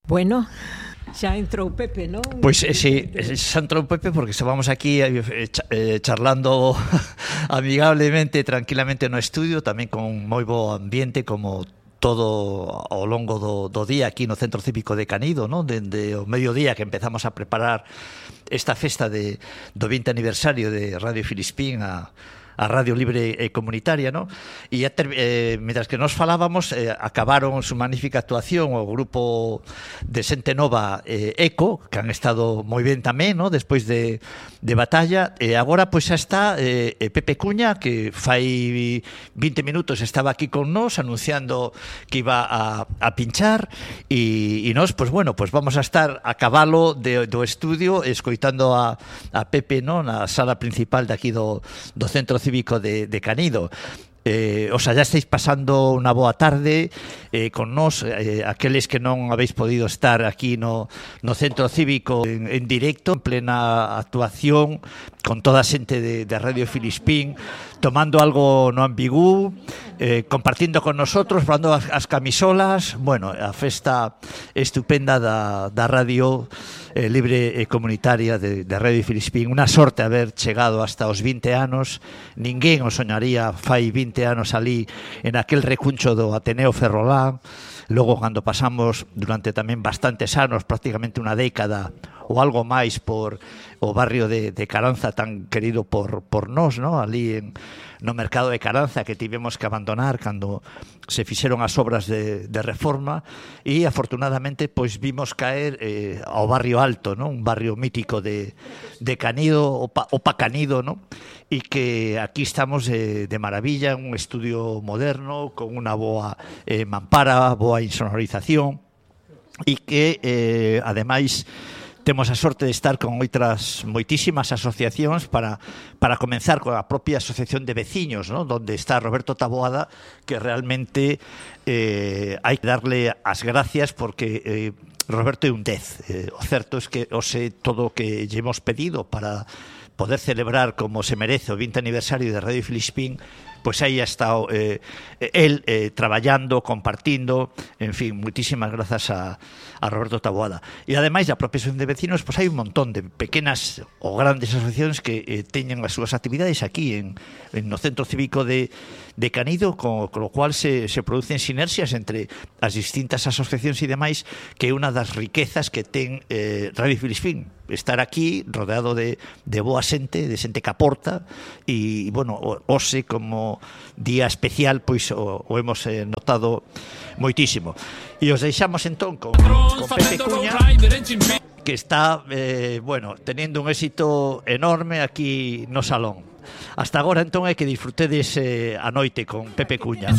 Bueno, xa entrou Pepe, non? Pois sí, xa entrou Pepe porque estábamos aquí charlando amigablemente, tranquilamente no estudio, tamén con moi bo ambiente como todo ao longo do día aquí no Centro Cívico de Canido, non? Dende o mediodía que empezamos a preparar esta festa do 20 aniversario de Radio Filispín a Radio Libre e Comunitaria, ¿no? E mientras que nos falábamos, acabaron su magnífica actuación o grupo de Xente Nova Eco, que han estado moi ben tamén, ¿no? Despois de batalla, e agora pois xa está Pepe Cuña, que fai 20 minutos estaba aquí con nós anunciando que iba a pinchar, e nós, pois bueno, pois vamos a estar a cabalo do estudio escoitando a Pepe, ¿no? Na sala principal de aquí do Centro Cívico de Canido. O sea, ya estáis pasando unha boa tarde con nós, aqueles que non habéis podido estar aquí no Centro Cívico en directo, en plena actuación, con toda a xente de Radio Filispín, tomando algo no ambigú, compartindo con nosotros, falando as camisolas, bueno, a festa estupenda da Radio Libre e Comunitaria de Radio Filispín. Unha sorte haber chegado hasta os 20 anos, ninguén o soñaría fai 20 anos ali en aquel recuncho do Ateneo Ferrolán. Logo, cando pasamos durante tamén bastantes anos, prácticamente unha década ou algo máis por o barrio de Caranza tan querido por nós, ¿no? Ali no mercado de Caranza, que tivemos que abandonar cando se fixeron as obras de reforma, e afortunadamente pois vimos caer ao barrio alto, ¿no? Un barrio mítico de Canido, Opa Canido, ¿no? E que aquí estamos de maravilla, un estudio moderno con unha boa mampara, boa insonorización, e que ademais temos a sorte de estar con outras moitísimas asociacións para comenzar con a propia asociación de veciños, ¿no? Donde está Roberto Taboada, que realmente hai que darle as gracias porque Roberto é un 10. O certo é que ose todo o que lle hemos pedido para poder celebrar como se merece o 20 aniversario de Radio Filispín, pois aí ha estado él traballando, compartindo, en fin, muitísimas grazas a Roberto Taboada. E ademais da propia asociación de vecinos, pois hai un montón de pequenas ou grandes asociacións que teñen as súas actividades aquí no Centro Cívico de Canido, con lo cual se producen sinerxias entre as distintas asociacións e demais, que é unha das riquezas que ten Radio Filispín, estar aquí rodeado de boa xente, de xente que aporta, e, bueno, hoxe como día especial, pois o hemos notado moitísimo. E os deixamos entón con Pepe Cuña, que está, bueno, teniendo un éxito enorme aquí no salón. Hasta agora entón é que disfrutedes a noite con Pepe Cuña.